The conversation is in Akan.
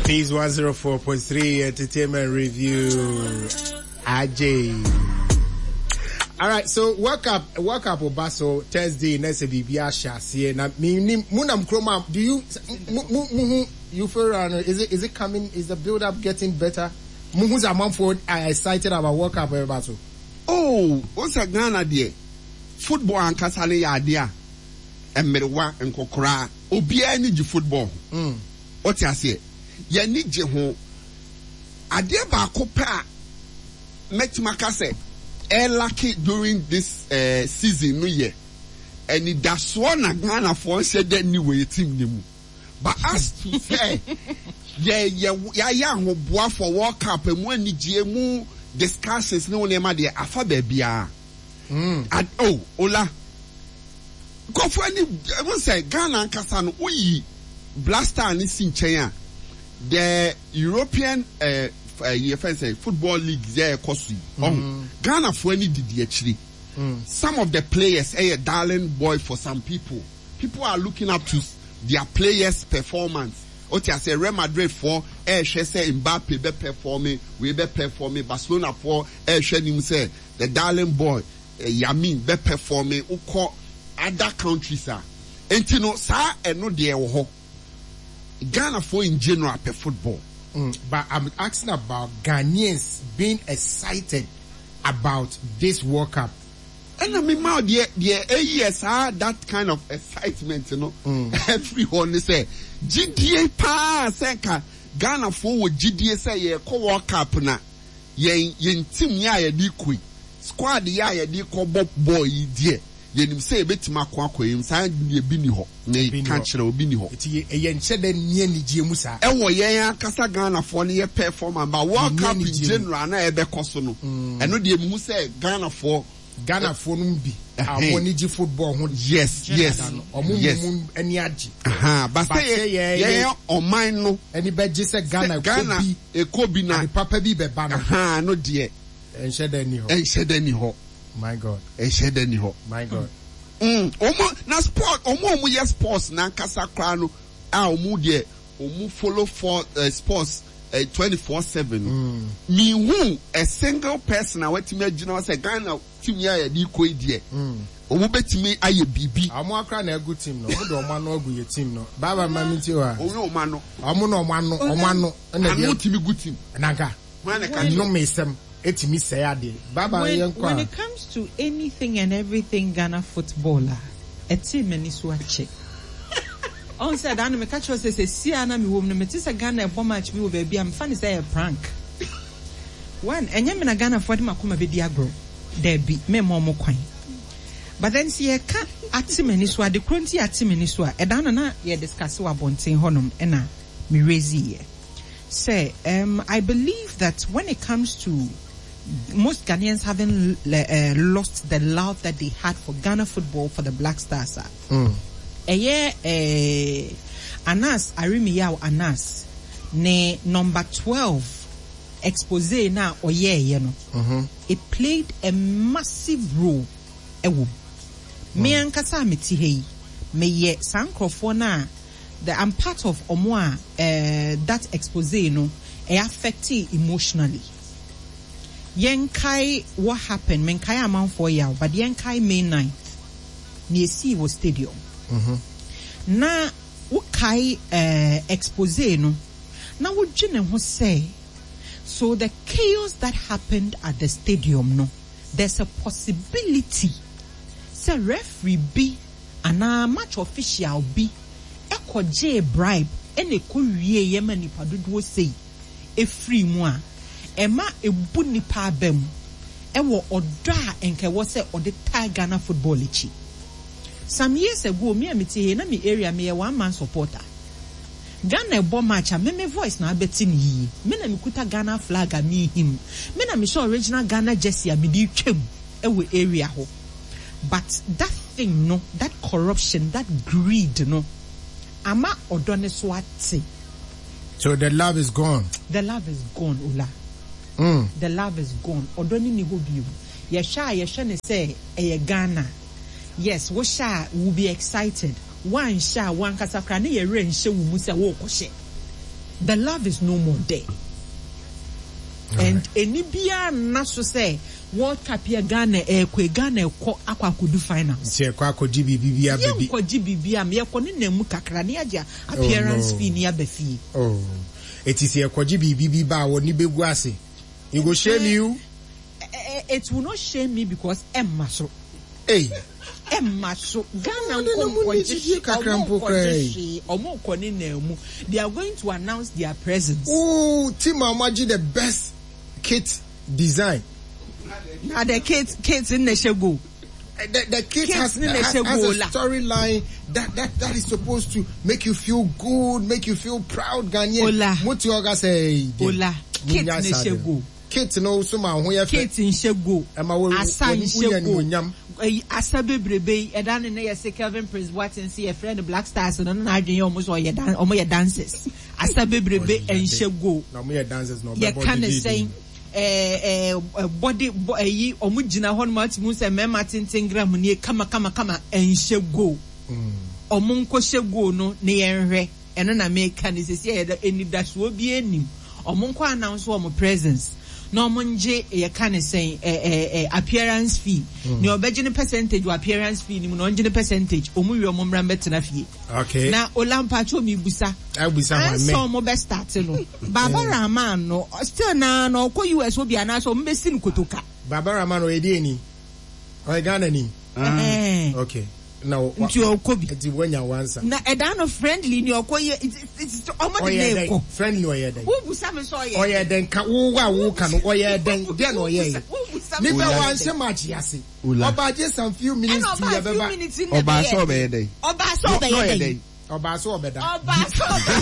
Peace 104.3 Entertainment Review. AJ. All right, so World Cup, World Cup Obaso Thursday next biribi ahyɛ aseɛ na mi mu nam kurom a do you mu mu mu you feel is it coming? Is the build up getting better? Mu hu sɛ amanfoɔ are excited about World Cup ɛbɛba so? Oh, o sɛ Ghana deɛ, football ankasa no yɛ adeɛ a mmerewa, nkɔkoraa, obiara ani gye football ho. Ɔte aseɛ, yɛni gye ho. Adeɛ baako pɛ a mɛtumi aka sɛ ɛlack during this season no yɛ anidasoɔ na Ghanafoɔ nhyɛ dɛ ni wɔ yɛ team ne mu. But as to sɛ yɛ yɛ yɛayɛ ahoboa for World Cup, emu anigye, mu discussions ne wo nneɛma deɛ, afa baabiara. Ad oh, ola nkurɔfoɔ ani ɛho sɛ Ghana ankasa no, woyi Black Star ne si nkyɛn a, the European yɛ fɛn sɛ football league yɛ ɛkɔ so yi, ɔho Ghanafoɔ ani didi akyire. Some of the players ɛyɛ darling boy for some people. People are looking up to their players' performance. O ti ase, Real Madrid foɔ ɛɛhwɛ sɛ Mbappe bɛ perform, wei bɛ perform. Barcelona foɔ ɛɛhwɛ nim sɛ the darling boy Yamin bɛ perform. Wokɔ other countries a, nti no saa ɛno deɛ wɔ hɔ. Ghana foɔ in general pɛ football. But I'm asking about Ghanaians being excited about this World Cup. Ɛna mi ma deɛ eyi yɛ saa, that kind of excitement no ɛfiri hɔ ne sɛ gyidie paa sɛ nka Ghanafoɔ wɔ gyidie sɛ yɛkɔ World Cup na yɛn team yɛ a yɛde kɔ yi, squad yɛ a yɛde kɔ bɔ bɔɔl yi deɛ, yɛnim sɛ yɛbɛtumi akɔ yɛn saa deɛ, bi ni hɔ ne ka kyerɛ obi ni hɔ. Nti ɛyɛ nkyɛ dɛ nni anigye mu saa. Ɛwɔ yɛn ankasa Ghanafoɔ no yɛ performance, but World Cup in general na ɛbɛkɔ so no, ɛno deɛ muhu sɛ Ghanafoɔ Ghanafoɔ no bi a wɔn ani gye football ho ɔmo mu ani agye. Ba sɛ yɛyɛ ɔman no ani bɛgye sɛ Ghana Ghana ekɔ bi na ade papa bi bɛba no. No deɛ ɛnhyɛ dɛ ni hɔ. Ɛnhyɛ dɛ ni hɔ. My God. Ɛnhyɛ dɛ ni hɔ. My God. Ɔmo na sport, ɔmo a ɔmo yɛ sports n'ankasa koraa no a, ɔmo deɛ ɔmo follow for sports 24/7 no, mihu a single person a watumi agyina hɔ sɛ Ghana team yi a yɛde kɔ yi deɛ, ɔmo bɛtumi ayɛ biribi. Ɔmo akora na egu team no, ɔmo de ɔmo ano agu yɛ team no baaba maame ti hɔ a. Ɔmo ɔmo ano. Ɔmo na ɔmo ano ɛna ano timi gu team. Nanka nnome sɛm etimi sɛɛ adeɛ baaba yɛn kɔ a. When it comes to anything and everything Ghana football a, ɛte m'ani so akyɛ. Ɔn sɛ daa no meka kyerɛ sɛ sia na mewɔ mu no, mete sɛ Ghana ɛbɔ match bi wɔ baabi a, mefa ne sɛ ɛyɛ prank. One, ɛnyɛ me na Ghanafoɔ de makoma bɛdi agorɔ. Daabi, memmɔ ɔmo kwan. But then sɛ yɛka ate m'ani so, ade koro nti ate m'ani so a, ɛda no na yɛ discuss wɔ abɔnten hɔnom ɛna me raise yɛ sɛ I believe that when it comes to most Ghanaians having lost the love that they had for Ghana football, for the Black Stars, ɛyɛ Anas Arimiyaw Anas ne number 12 expose na ɔyɛɛyɛ no, it played a massive role ɛwɔ mu. Me ankasa a mete ha yi, meyɛ saa nkurɔfoɔ no a the I'm part of ɔmo a that expose no ɛ affect emotionally. Yɛnkae what happened, menkae amanfoɔ yaw, but yɛnkae May 9th nea esii wɔ stadium na wokae expose no na wodwene ho sɛ, so the chaos that happened at the stadium no, there's a possibility sɛ referee bi anaa match official bi ɛkɔgyee bribe ɛna ɛkɔ wie yɛ ma nipa dodoɔ sei efiri mu a ɛma ebu nipa aba mu ɛwɔ ɔdɔ a nka ɛwɔ sɛ ɔde taa Ghana football akyi. Some years ago, me a mete ha, na me area meyɛ one man supporter. Ghana ɛbɔ match a, me voice na abɛte ne yie. Me na mekuta Ghana flag a mehim, me na mehyɛ original Ghana jersey a mede twam ɛwɔ area hɔ. But that thing no, that corruption, that greed no, ama ɔdɔ ne so ate. So the love is gone. The love is gone, Ola. The love is gone. Ɔdɔ ne ni hɔ bio. Yɛhwɛ a, yɛhwɛ ne sɛ ɛyɛ Ghana. Yes, wohyɛ a, will be excited. Woanhyɛ a, wankasa koraa ne yɛwerɛ nhyɛ wo mu sɛ worekɔhyɛ. The love is no more there. And ɛni biara nna so sɛ World Cup yi a Ghana ɛrekɔ yi, Ghana ɛkɔ akɔ akɔdu finals. Nti ɛkɔ akɔgye biribi bi aba bi. Yɛnkɔgye biribi a, yɛkɔ ne nam mu kakra na yɛagye appearance fee na yɛaba fie. Oh, eti sɛ yɛkɔgye biribi bi ba a, w'ani bɛgu ase. You go shame you. It will not shame me because ɛmma so. Ei. Ɛmma so. Ghana nkɔ nkɔgye hwee, ɔmo nkɔgye hwee, ɔmo kɔ ne nan mu. They are going to announce their presence. Ooh, team a ɔmo agye the best kit design. Na the kit kit no na ɛhyɛ goal. The, the kit, kit has, has, has a storyline that, that, that is supposed to make you feel good, make you feel proud, Ghanaian. Ola. Muti oga say, Ola. Kit na ɛhyɛ goal. Kit no so ma ho yɛ fɛ. Kit nhyɛ goal. Ɛma wo Asa nhyɛ goal. Nyam. Asa bebrebe yi ɛda ne ne yɛ se Kelvin Prince Boateng se yɛfrɛ no Black Stars no na n'adwene yɛ ɔmo sɛ ɔyɛ dan ɔmo yɛ dancers. Asa bebrebe nhyɛ goal. Na ɔmo yɛ dancers na ɔbɛbɔ Yɛka ne sɛn ɛɛ ɛɛ bɔde bɔ ɛyi ɔmo gyina hɔ nom ati mu sɛ mmarima tenten gram nie kama kama kama nhyɛ goal. Ɔmo nkɔhyɛ goal no ne yɛn hwɛ. Ɛno na meka no sɛsi a yɛda anidasoɔ biara nnim. Ɔmo nkɔ announce wɔn presence na ɔmo ngye yɛka ne sɛn ɛ ɛ ɛ appearance fee. Nea ɔbɛgye ne percentage wɔ appearance fee no mu no ɔngye ne percentage. Ɔmo wie ɔmo mmra mbɛtena fie. Okay. Na Ola mpakyɛw mebusa. Abusa hwan Ansa me? ɔmo bɛ start no Baba Rahman no still naa no ɔkɔ US hɔ bi anaasɛ ɔmo bɛsi no kotoka? Baba Rahman ɔyɛ deɛ ni? Ɔyɛ Ghana ni? Ɛhɛn. Okay. Na wa, Nti ɔkɔ bi. Nti wanya wansa. Na ɛdaa no friendly ni ɔkɔ yɛ ɔmo de Ɔyɛ ne dɛn? kɔ. Friendly ɔyɛ dɛn? Wo busa me sɛ ɔyɛ Ɔyɛ dɛn? Ka wo a wo ka no ɔyɛ dɛn? Deɛ na ɔyɛ yɛ. Wo busa me Nipa sɛ ɔyɛ wanhyɛ dɛn? match ase. Ola. Ɔbaa gye some few minutes Ɛna to ɔbaa few yɛbɛba. minutes na Ɔbaa ɛbɛyɛ sɛ ɔbɛyɛ dɛn? Ɔbaa sɛ Na ɔbɛyɛ ɔyɛ dɛn? dɛn? Ɔbaa sɛ ɔbɛda. Ɔbaa sɛ ɔbɛyɛ.